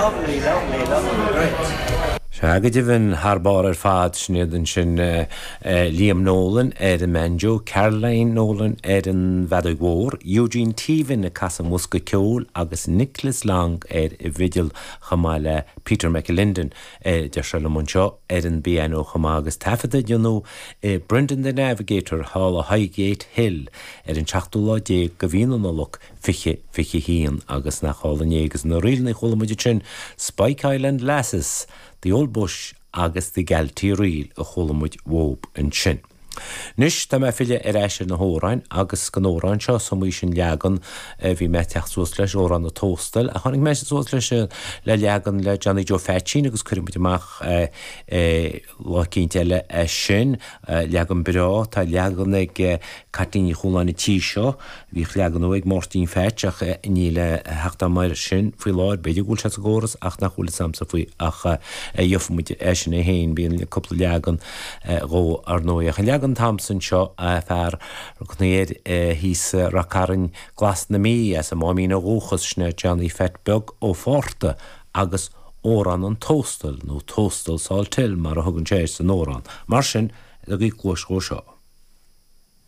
Lovely, lovely, lovely, great. Sea, go deimhin, thar barr ar fad, sin iad ansin Liam Nolan ar an mbanjo, Caroline Nolan ar an bhfeadóig mhór, Eugene Teevan ag casadh an bhosca ceoil agus Nicholas Long ar an bhfidil chomh maith le Peter McAlinden, a deir sé liom anseo, ar an bpianó chomh maith agus taifead a déanadh i Brendan the Navigator thall i Highgate Hill ar an tseachtú lá déag de mhí na Nollag 2021 agus nach álainn é agus na ríleanna a chuala muid ansin Spike Island Lasses, The Old Bush agus The Galtee Reel a chuala muid uathub ansin. Anois tá mé ag filleadh ar ais ar na hamhráin agus den amhrán seo is iomaí sin leagan a bhí mé ag teacht suas leis, Amhrán an Tóstail, ach tháinig mé suas leis le leagan le Johnny Joe Pheaitsín agus cuirfidh muid amach Lá eicínt eile é sin. Leagan breá. Tá leagan ag Caitlín Ní Chualáin an tí seo. Bhíodh leagan ag Máirtín Pheaits ach níl a theacht agam air sin faoi láthair. B'fhéidir go bhfuil sé sa gcóras ach nach bhfuil fhios a'msa faoi ach gheobhaidh muid é sin é féin. Bíonn cúpla leagan dhó ar ndóigh. Ach an leagan atá a'msa anseo, fear air thíos i Rath Cairn Glas na Mí, as an Máimín ó dhúchas, sin é Johnny Pheait Beag Ó Fátharta agus Amhrán an Tóstail, nó Tóstal Salthill mar a thugann sé air san amhrán. Mar sin, tugaigí cluas dhó seo.